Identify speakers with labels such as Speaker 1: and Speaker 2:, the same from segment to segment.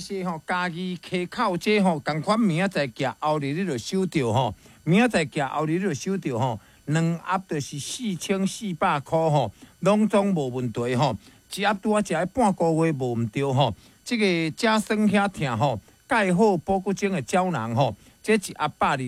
Speaker 1: 謝吼，嘉義溪口這吼，仝款明仔載寄，後日你就收著吼，明仔載寄，後日你就收著吼，兩盒就是4400箍吼，攏總無問題吼，一盒拄仔食半個月無毋著吼，這個食酸遐疼吼，蓋好保骨精的膠囊吼，這一盒120粒，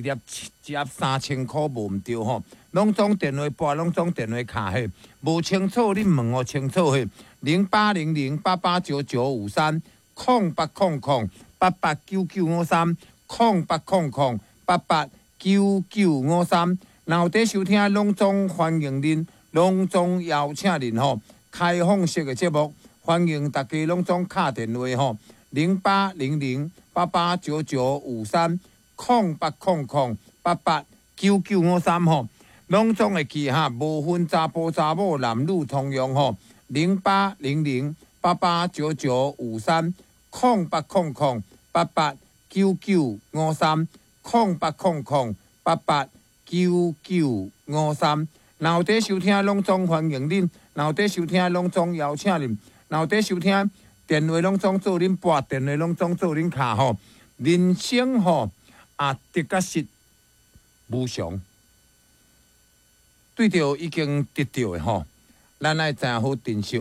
Speaker 1: 一盒3000箍無毋著吼，攏總電話撥，攏總電話敲嘿，無清楚你問予清楚嘿，0800889953。0800889953，0800889953。若有佇收聽，攏總歡迎恁，攏總邀請恁吼。開放式的節目，歡迎大家攏總敲電話吼，0800889953，0800889953吼，攏總會記哈，無分查埔查某，男女通用吼，0800889953，0800889953，0800889953。若有佇收聽，攏總歡迎恁；若有佇收聽，攏總邀請恁；若有佇收聽，電話攏總做恁撥，電話攏總做恁敲吼。人生吼啊，得佮失無常，對著已經得著的吼，咱愛知影好珍惜，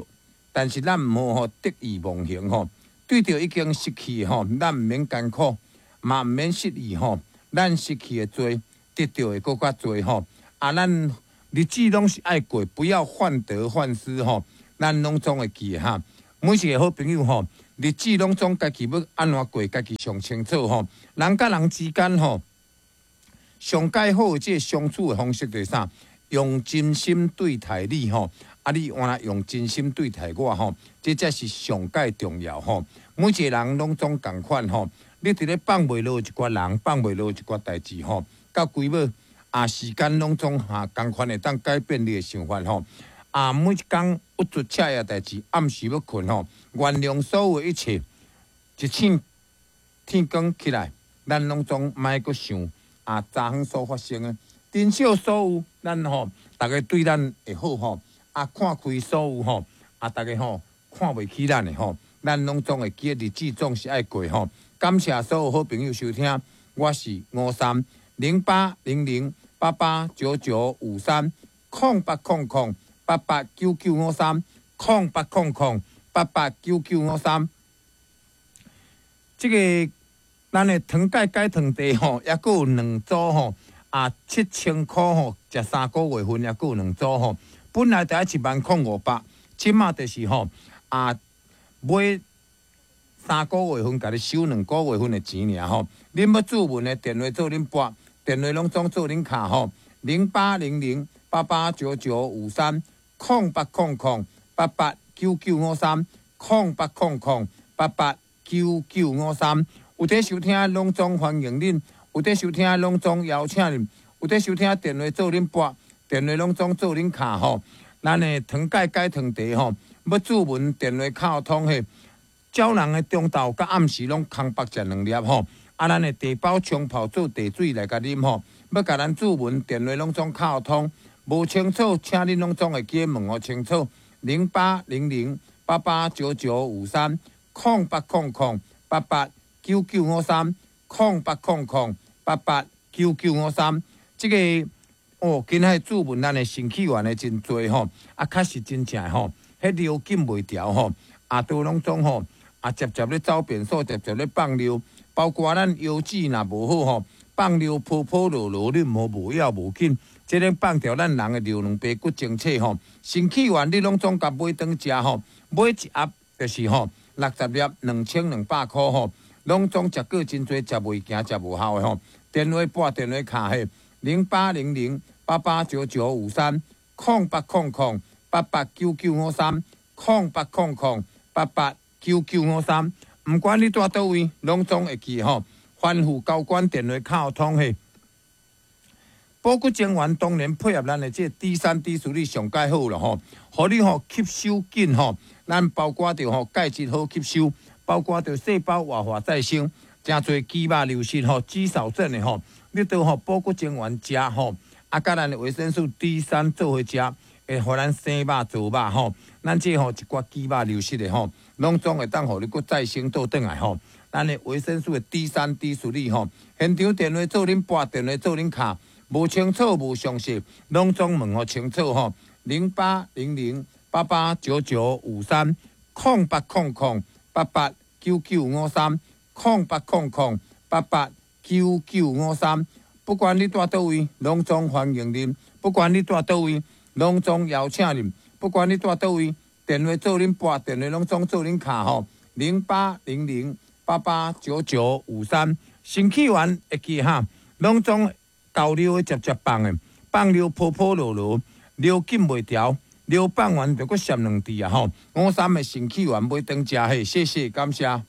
Speaker 1: 但是咱毋好吼得意忘形吼。對著已經失去的吼，咱毋免艱苦，嘛毋免失意吼。咱失去的濟，得著的閣較濟吼。啊，咱日子攏是愛過，不要患得患失吼。咱攏總會記得哈，每一個好朋友吼，日子攏總家己欲按怎過，家己上清楚吼。人佮人之間吼，上蓋好的這個相處的方式就是啥？用真心對待你吼，啊，你原來用真心對待我吼，這才是上蓋重要吼。每一個人攏總仝款吼，你佇咧放袂落一寡人，放袂落一寡代誌吼，到規尾啊，時間攏總哈仝款會當改變你的想法吼。啊，每一工鬱卒赤的代誌，暗時欲睏吼，原諒所有一切，一醒天光起來，咱攏總莫閣想啊，昨昏所發生的。珍惜所有，咱吼，逐家對咱會好吼，啊，看開所有吼，啊，逐家吼看袂起咱的吼，咱攏總會記得日子總是愛過吼。感謝所有好朋友收聽，我是吳三0800889953，0800889953，0800889953。這個咱的糖鈣解糖茶吼，猶閣有兩組吼。啊，7000箍吼，食3個月份，猶閣有兩組吼。本來就愛100,500，這馬就是吼啊，買3個月份，共你收2個月份的錢爾吼。恁欲注文的電話做恁撥，電話攏總做恁敲吼，0800889953，0800889953，0800889953。有佇收聽，攏總歡迎恁。有佇收聽，攏總邀請恁；有佇收聽，電話做恁撥，電話攏總做恁敲吼。咱的糖鈣解糖茶吼，欲注文電話敲通嘿。鳥人的中晝佮暗時攏空腹食兩粒吼。啊，咱的茶包沖泡做茶水來共啉吼。欲共咱注文電話攏總敲通，無清楚，請恁攏總會記問予清楚。0800889953，0800889953，0800889953，這個哦，今仔注文咱的新起源的真濟吼，啊，確實真正吼，彼尿禁袂牢吼，啊，都攏總吼，啊，捷捷咧走便所，捷捷咧放尿，包括咱腰子若無好吼，放尿泡泡落落，你毋好無要無緊，這個放著咱人的尿卵白骨精冊吼，新起源你攏總共買轉食吼，買一盒就是吼60粒2200箍吼，攏總食過真濟，食袂行，食無效的吼。電話撥電話敲嘿，0800889953，0800889953，0800889953。毋管你蹛佗位，攏總會記吼。吩咐交關電話敲通嘿。保骨精丸當然配合咱的這個 D 三 D 四你上蓋好了吼，予你吼吸收緊吼。咱包括著吼鈣質好吸收，包括著細胞活化再生。誠濟肌肉流失吼，肌少症的吼，你都吼保骨精丸食吼，啊，佮咱的維生素 D 三做伙食，會予咱生肉做肉吼。咱這吼一寡肌肉流失的吼，攏總會當予你閣再生倒轉來吼。咱的維生素的 D3、D4 吼，現場電話做恁撥，電話做恁敲，無清楚無詳細，攏總問予清楚吼。0800889953，0800889953，0800889953。不管你蹛佗位，攏總歡迎恁；不管你蹛佗位，攏總邀請恁；不管你蹛佗位，電話做恁撥，電話攏總做恁敲吼。0800889953，身體丸會記哈，攏總交流的捷捷放的，放尿泡泡落落，尿緊袂牢，尿放完就閣閃兩滴啊吼。五三的腎氣丸買轉食嘿，謝謝感謝。